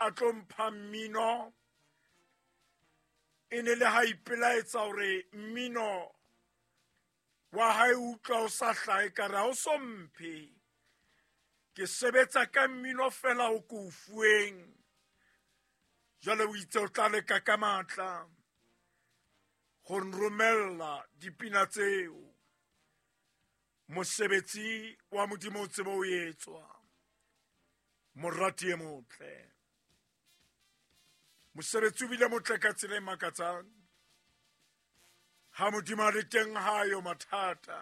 a tlo mpha mmino e ne le ha ipelaetsa hore mmino wa hae utlwa o sa hlahe ka re ha o so mphe ke sebetsa ka mmino fela o ko o fuweng jwale o itse o tla leka ka matla go nromella dipina tseo mosebetsi wa modimo o tsebe o etswa morati e motle mosebetsi o bile motle ka tsela e makatsang ha modimo a le teng ha yo mathata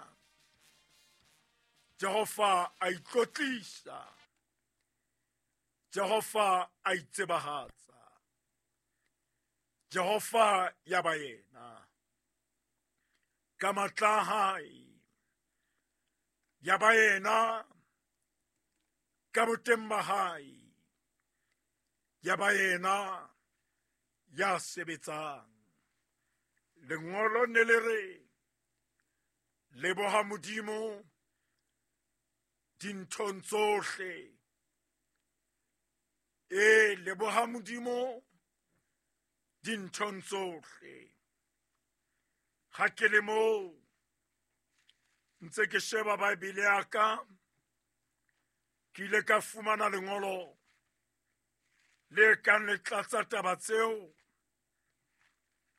jehova a itlotlisa jehova a itsebahatsa jehova ya ba yena ka matla a hae ya ba yena ka boteng ba hae ya ba yena ya sebetsang lengolo ne le re leboha modimo dinthong tsohle e leboha modimo dinthong tsohle ga ke le moo ntse ke sheba baebele ya ka ke ile ka fumana lengolo le kang le tlatsa taba tseo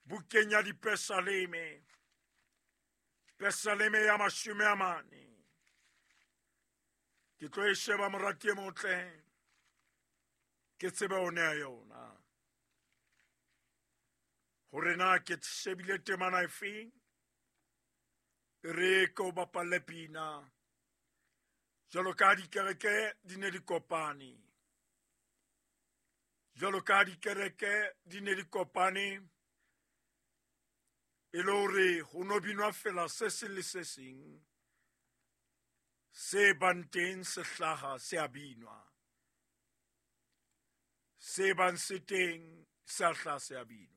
bukeng ya dipesaleme pesaleme ya 40 ke tlo e sheba morati e motle ke tsebe o nea yona hore na ke shebile temana efeng re ke o bapalle pina jwalo ka dikereke di ne di kopane jwalo ka dikereke di ne di kopane e le hore ho no binwa fela se seng le se seng se bang teng se hlaha se a binwa se bang se teng se a hlaha se a binwa.